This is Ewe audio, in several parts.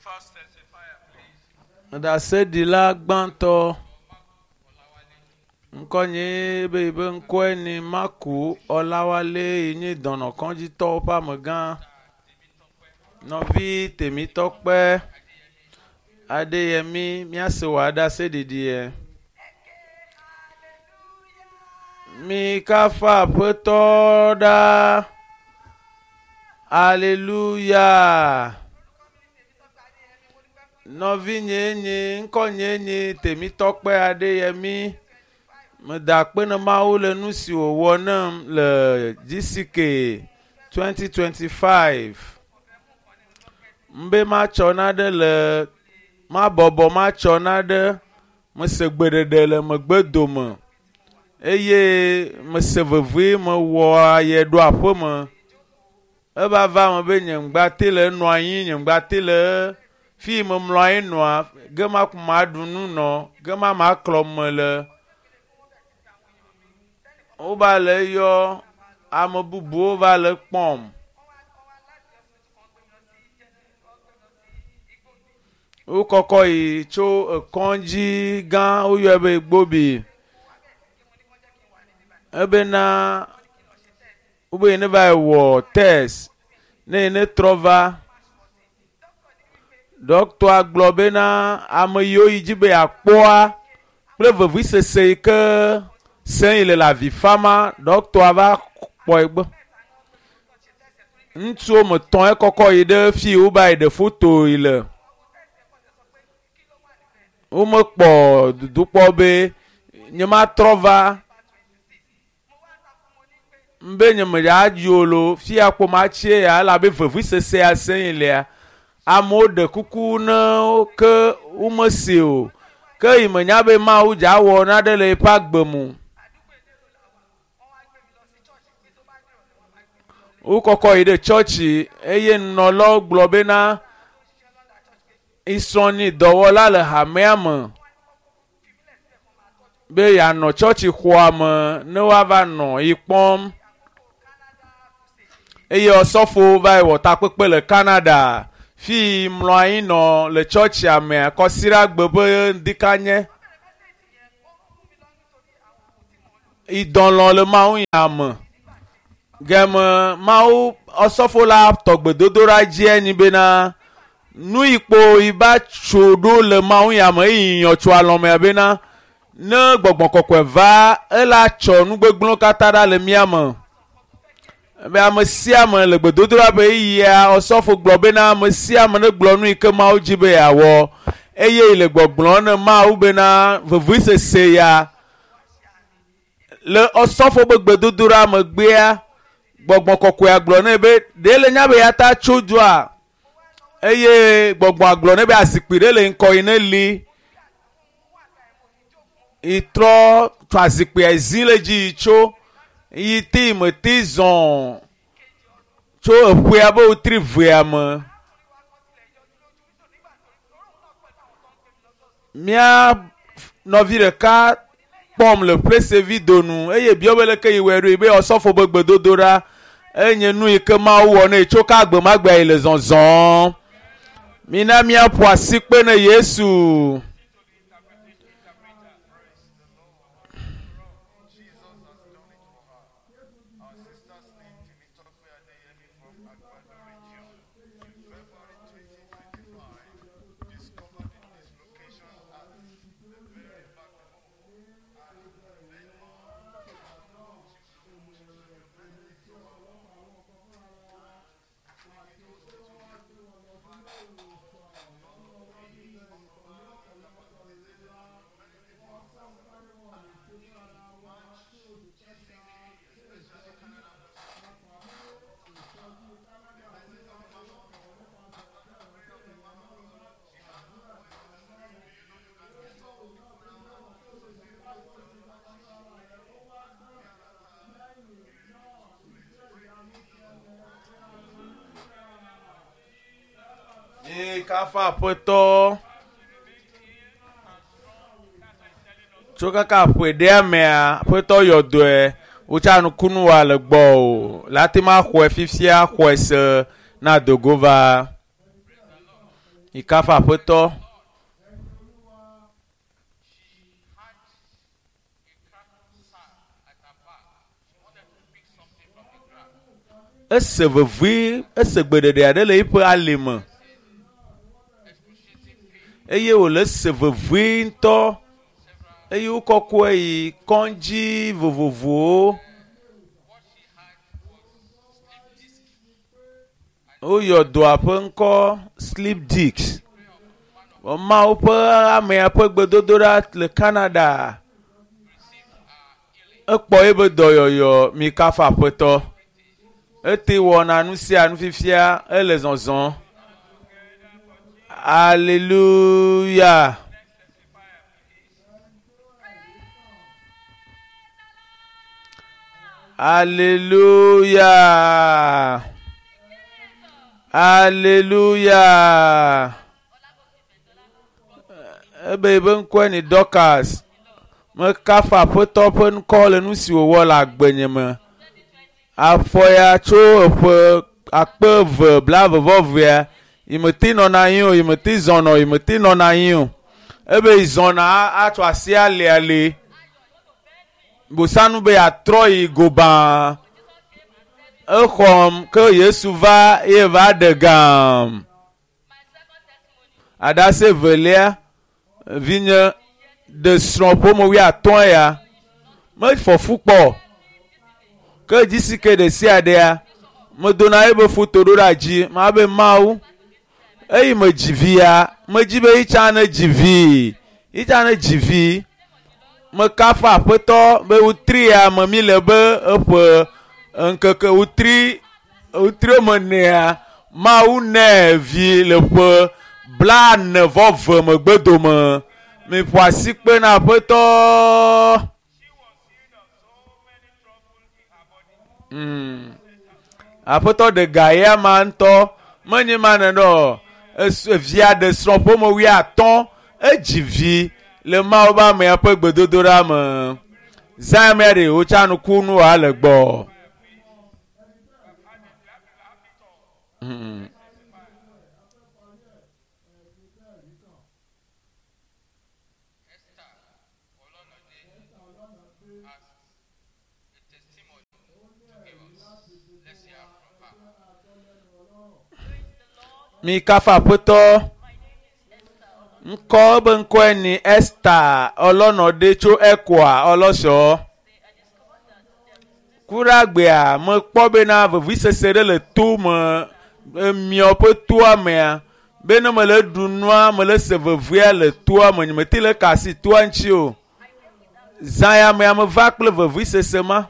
first testifier, please. Ɖaseɖila gbãtɔ ŋkɔnye be yibe ŋkɔe ni Maku Ɔlawale yi nye dɔnɔkɔdzitɔwo ƒe amegã. Nɔvi Temitɔkpe Adeyemi míase wò aɖaseɖiɖie. Mikafu Aƒetɔ ɖaa. Aleluya. Nɔvinye nye ŋkɔnye nye Temitɔkpe Adeyemi. Meda akpe na Mawu le nu si wòwɔ nam le GCK 2025. Mbe matsɔ naɖe le mabɔbɔ matsɔ naɖe mese gbeɖeɖe le megbe dome eye mese vevie mewɔ aye ɖo aƒeme. Eva va eme be nye ŋgbate le enɔ anyi nye ŋgbate le fi yi memlɔ anyi nɔa gema ko maɖu nu nɔ gema maklɔ me le. Wova le yɔ ame bubuwo va le kpɔm. Wokɔkɔ yi tso ekɔdzi gã woyɔe be Gbobi ebena wobe yi ne va yi wɔ test ne yi ne trɔ va ɖɔkita gblɔ bena ame yiwo yi dzi be yeakpɔa kple vevisese yi ke sem yi le le avi fama ɖɔkita va kpɔe gbɔ. Ŋutsu woame etɔ̃ ekɔkɔ yi ɖe fi yi wova yi ɖe foto yi le. Womekpɔ dodokpɔ be nyematrɔ va be nye medza o loo fia kpo matsie ya elabe vevisese ya sem yi lea amewo ɖe kuku ne wo ke womese o ke yi menya be Mawu dza wɔ naɖe le yeƒe agbe me. Wokɔkɔ yi ɖe tsɔtsi eye nunɔlawo gblɔ bena isrɔ̃ nyi dɔwɔla le hamea me be yeanɔ tsɔtsixɔa me ne woava nɔ yi kpɔm eye osɔfowo va yi wɔ takpekpe le Canada fi yi mlɔ anyi nɔ le tsɔtsia mea kɔsiɖagbe ƒe ŋdikanye. Idɔlɔ̃ le Mawu nya me. Geme Mawu osɔfo la tɔ gbedodoɖa dzie nyi bena nu yi kpo yi va tso ɖo le Mawu nya me eye nyɔ tso alɔmea bena ne gbɔgbɔ kɔkɔe va ela tsɔ nugbegblẽwo katã ɖa le mía me. Be ame sia ame le gbedodoɖa ƒe ɣeyiɣia osɔfo gblɔ bena ame sia ame negblɔ nu yi ke Mawu dzi be yeawɔ eye yi le gbɔgblɔm ne Mawu bena vevisese ya le osɔfo be gbedodoɖa megbea gbɔgbɔ kɔkɔea gblɔ nɛ be ɖe le nya be ya ta tso dua eye gbɔgbɔa gblɔ nɛ be azikpui ɖe le ŋkɔ yi ne li yi trɔ tso azikpuia zi le dzi yi tso yi te me te zɔ tso eƒea be wotri vea me. Mía nɔvi ɖeka kpɔm le ƒlesevi donu eye biɔ be leke yi wɔe ɖo yi be osɔfo be gbedodoɖa enye nu yi ke Mawu wɔ nɛ tso ke agbemagbea yi le zɔzɔm. Mina míaƒo asikpe ne Yesu. Jesus has done it for her. Our sister's name, Temitope Adeyemi from Agbado region. In February 2025, discovered the dislocation at the very backbone and then Mikafu Aƒetɔ. Tso kaka ƒe ɖea mea, Aƒetɔ yɔ dɔe wotsa nukunu wa le gbɔ o. Le ate ma xɔe fifia xɔe se na dogo va. Mikafu aƒetɔ. Ese vevie, ese gbeɖeɖe aɖe le eƒe ali me eye wòle se vevie ŋutɔ eye wokɔkɔe yi kɔdzi vovovowo. Woyɔ dɔa ƒe ŋkɔ slip disc. Mawu ƒe amea ƒe gbedodoɖa le Canada. Ekpɔ eƒe dɔyɔyɔ mikafu aƒetɔ. Ete wɔna nu sia nu fifia ele zɔzɔm. Hallelujah. Hallelujah. Hallelujah. Ebe ebe ŋkɔe ni Dorcas. Mekafu aƒetɔ ƒe ŋkɔ le nu si wòwɔ le agbenye me. Afɔ ya tso eƒe 2022 yi mete nɔna anyi o, yi mete zɔna o, yi mete nɔna anyi o. Ebe yi zɔna atsɔ asi aliali. Bosanu be yeatrɔ yi gobaa. Exɔm ke Yesu va ye va ɖe gam. Aɖase evelia, vinye ɖe srɔ̃ ƒome wuiatɔ̃ ya mefɔ fu kpɔ. Ke dzisi ke ɖe sia ɖea, medona ebe foto ɖo ɖe dzi ma be Mawu. Eyi me dzi via, medzi be yitsa ne dzi vi, yitsa ne dzi vi. Mekafu aƒetɔ be wotri ya me mi le be eƒe ŋkeke wotri wotri me nea Mawu nɛ vi le ƒe 45 megbe dome. Miƒo asi kpe na aƒetɔ. Aƒetɔ ɖe ga ya ma ŋutɔ menye ma nenɔ evia ɖe srɔ̃ ƒome 50 edzi vi le Mawu ƒe amea ƒe gbedodoɖa me. Zã mea ɖe wotsa nuku nu wa le gbɔ. Esther Olonode has a testimony to give us. Let's hear from her. Mikafu aƒetɔ. Ŋkɔ ebe ŋkɔe ni Esther Olonode tso Ekwa Ọlọ́sọ. Kuragbea mekpɔ bena vevisese ɖe le to me emiɔ ƒe toa mea be ne mele ɖu nua mele se vevea le toa me nyemete le ka asi toa ŋuti o. Zã ya mea meva kple vevisese ma.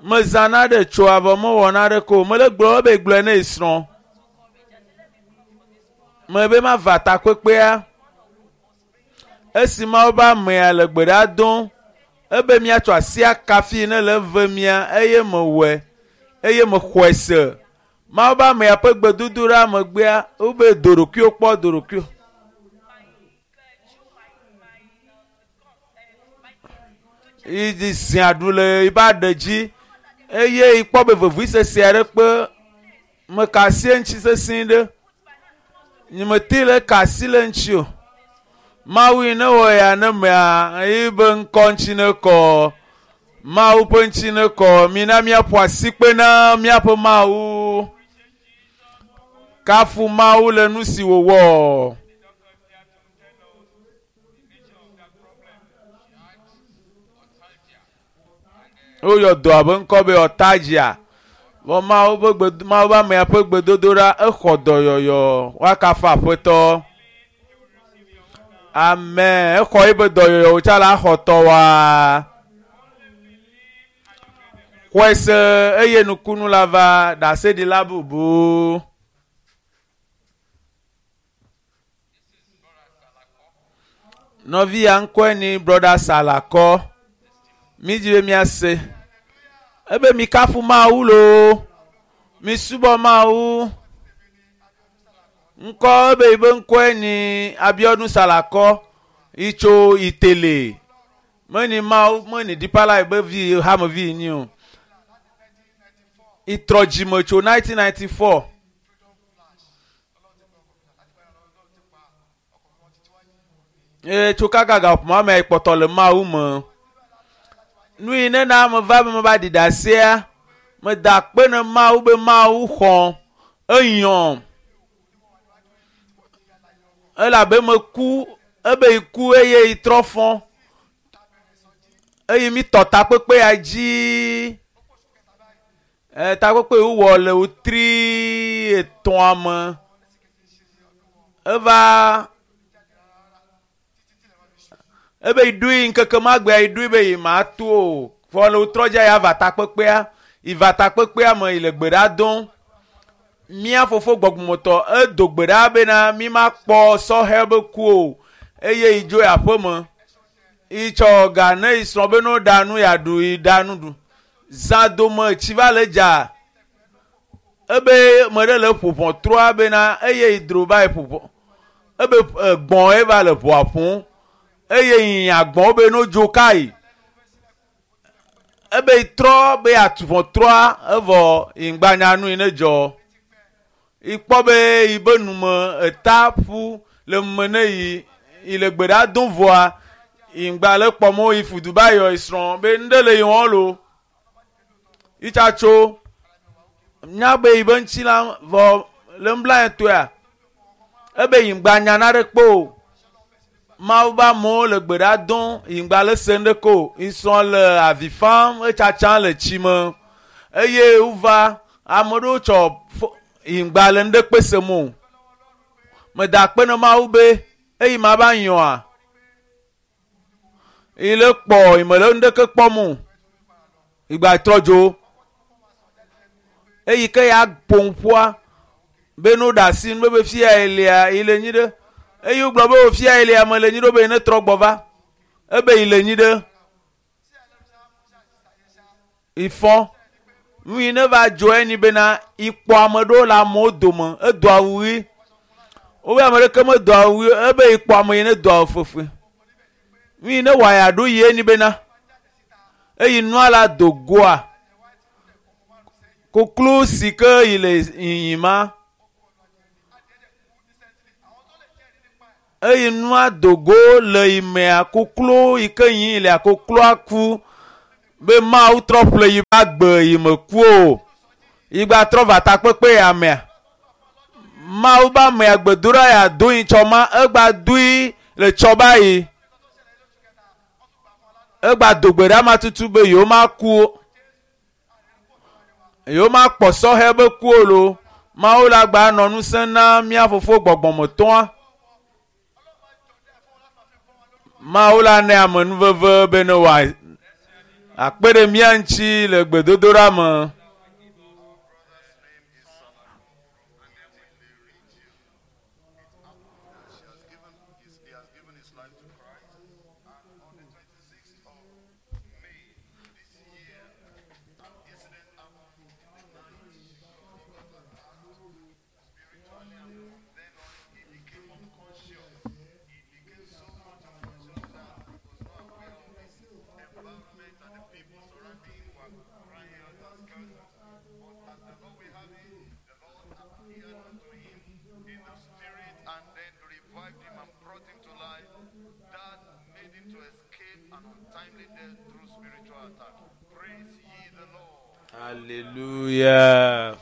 Mezãna ɖe tsoa vɔ mewɔna ɖeke o. Mele gblɔ ebe gblɔe ne srɔ̃. Mebe mava takpekpea. Esi Mawu ƒe amea le gbe ɖa dom ebe miatsɔ asi akafi ne le eve mia eye mewɔe eye mexɔe se. Mawu ƒe amea ƒe gbedodoɖa megbea wobe do ɖokuiwo kpɔ do ɖokuiwo. Yi dzi zi aɖu le yiƒe aɖe dzi eye yikpɔ be vevisese aɖe kpe meka asi eŋuti sesẽ ɖe. Nyemete le ka asi le ŋuti o. Mawu yi ne wɔ ya ne mea yibe ŋkɔ ŋuti ne kɔ. Mawu ƒe ŋuti ne kɔ. Mina míaƒo asi kpe na míaƒe Mawu. Kafu Mawu le nu si wòwɔ. Woyɔ dɔa ƒe ŋkɔ be Ɔtadzia. Vɔ Mawu ƒe gbe Mawu ƒe amea ƒe gbedodoɖa exɔ dɔyɔyɔ. Woakafu aƒetɔ. Amen. Exɔ eƒe dɔyɔyɔ wòtsa la xɔ tɔwoa. Xɔe se eye nukunu la va ɖaseɖila bubu. Nɔvi ya ŋkɔe ni Brɔda Salakɔ. Mi dzi be miase. Ebe mikafu Mawu loo. Misubɔ Mawu. Ŋkɔ ebe yibe ŋkɔe ni Abiodun Salakɔ yi tso Itele. Meni Mawu meni Deeper Life be vi hamevi nyi o. Itrɔ dzime tso 1994. Eye tso kaka gaƒoƒo me kpɔtɔ le Mawu me. Nu yi ne na meva be meva ɖi ɖasea, meda akpe ne Mawu be Mawu xɔm, eyɔm. Elabe meku, ebe yi ku eye yi trɔ fɔ. Eye mi tɔ takpekpe ya dzi. E, takpekpe yi wowɔ le wotri etɔ̃a me. Eva ebe yi ɖoe ŋkeke ma gbea yi ɖoe be yi ma to o. Vɔ le wotrɔ dza ya va takpekpea, yi va takpekpea me yi le gbe ɖa dom. Mía fofo gbɔgbɔmetɔ edo gbe ɖa bena mi ma kpɔ sɔhɛ be ku o eye yi dzo yi aƒeme. Yi tsɔ ga ne yi srɔ̃ be no ɖa nu yeaɖu yi ɖa nu ɖu. Zã dome tsi va le dza. Ebe me ɖe le ƒo ʋɔtrua bena eye yi dro va yi ƒo ʋɔ. Ebe gbɔ̃ ye va le ʋɔa ƒom eye yi nya gbɔ̃ be no dzo ka yi. Ebe yi trɔ be yeatu ʋɔtrua evɔ yi ŋgba nya nu yi ne dzɔ. Yi kpɔ be yi be nume eta ƒu le nume ne yi yi le gbe ɖa dom vɔa yi ŋgba le kpɔm o yi fudu ba yɔ yi srɔ̃ be nu ɖe le yi wɔm lo. Yi tsa tso nya be yi be ŋuti la vɔ le nublanui ebe yi ŋgba nya naɖe kpe o. Mawu be amewo le gbe ɖa dom yi ŋgba le se nuɖeke o. Yi srɔ̃ le avi fam etsatsam le tsi me eye wova ame ɖewo tsɔ fo yi ŋgba le nuɖekpe sem o. Meda akpe ne Mawu be eyi ma va nyɔa yi le kpɔ yi me le nuɖeke kpɔm o. Yi gba trɔ dzo. Eyi ke ya ƒom ƒua be no ɖe asi nu be fia yi lia yi le nyi ɖe. Eye wogblɔ be o fia yi lia me le nyi ɖe be ne trɔ gbɔ va. Ebe yi le nyi ɖe. Ifɔ. Nu yi ne va dzɔ enyi bena ikpɔ ame ɖewo le amewo dome edo awu ɣi. Wobe ame ɖeke medo awu ɣi ebe ikpɔ ame yi ne do awu fefe. Nu yi ne wɔ ya ɖo yi enyi bena eyi nua la do goa. Koklo si ke yi le yiyim ma. Eyi nua do go le yi mea koklo yi ke yiyim lea kokloa ku be Mawu trɔ ƒle yi be agbe yi me ku o. Yi gba trɔ va takpekpe ya mea. Mawu be amea gbedoɖa ya do yi tsɔ ma egba doe le tsɔ ba yi. Egba do gbe ɖa ma tutu be yewo ma ku o. Yewo ma kpɔ sɔhɛ be ku o lo. Mawu la gba nɔ ŋusẽ na mía fofo gbɔgbɔmetɔa. Mawu la ne amenuveve be ne wòa akpe ɖe mía ŋuti le gbedodoɖa me. Brother's name is Salako from Itile region. It happened that she has given his, he has given his life to Christ, and on the 26th of May this year, an incident happened in the night. He got attacked spiritually, and from then on, he became unconscious. He became so much unconscious that he was not aware of his environment, and the people surrounding him were crying out and cursing. But as the Lord will have it, the Lord appeared unto him in the spirit and then revived him and brought him to life. That made him to escape an untimely death through spiritual attack. Praise ye the Lord. Hallelujah.